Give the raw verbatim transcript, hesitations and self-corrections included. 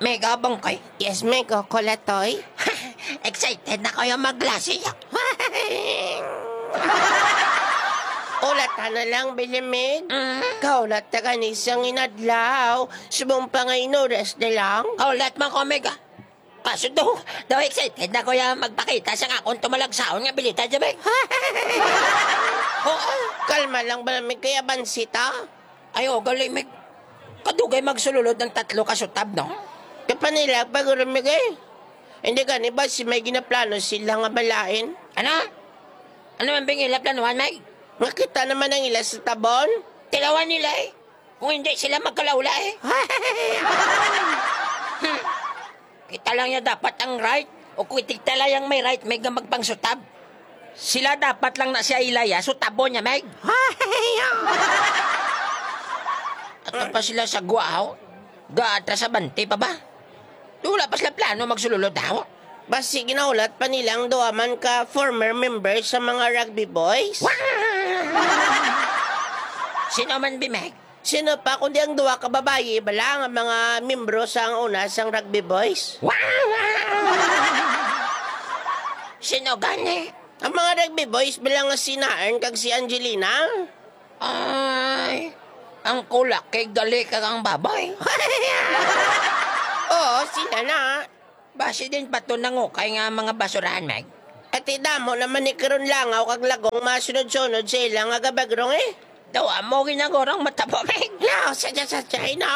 Mega bangkay. Yes, Mega Kulatoy. Excited na kayo maglasi. Ulatan na lang, Bilimig. Mm. Kaulat na gani sang inadlaw. Subong pa nga inuras na lang. Kaulat man ko, Mega. Kaso daw, daw excited na ko ya magpakita sa akon tumalagsaon nga bilita, Jabay. Oo. Kalma lang ba namin kaya bansita? Ay, o, gali, Meg. Kadugay magsululod ang tatlo ka sutab, no? Kapanilag pa guro, Meg, eh. Hindi gani ba si may ginaplano sila nga balain? Ano? Ano man bing ila planuhan, Meg? Nga kita naman ang ila sa tabon? Tilawan nila, eh. Kung hindi sila magkalaula, eh. Hmm. Kita lang niya dapat ang right. O kung itigta lang yang may right, may nga magpangsutab. Sila dapat lang na siya ilaya, sutabon niya, Meg. Ato pa sila sa guaw. Gaatra sa bante pa ba? Wala pa sila plano magsululod daw. Basi ginahulat pa nila ang duha man ka former members sa mga rugby boys. Sino man, Bimeg? Sino pa kundi ang duha ka babayi bala nga mga membro sang una sang rugby boys? Sino gani? Ang mga rugby boys bala nga si Naern kag si Angelina. Ay, ang kulak kay gali kag ang baboy. Oo, sila na. Basi din pa to nangukay nga mga basurahan, Meg. Ati damo naman ni karon langaw kag lagong masunod-sunod sa ila nga gabagrong, eh. Daw amo ginagurang matabo, Meg. No, sa, sa, sa, sa, no.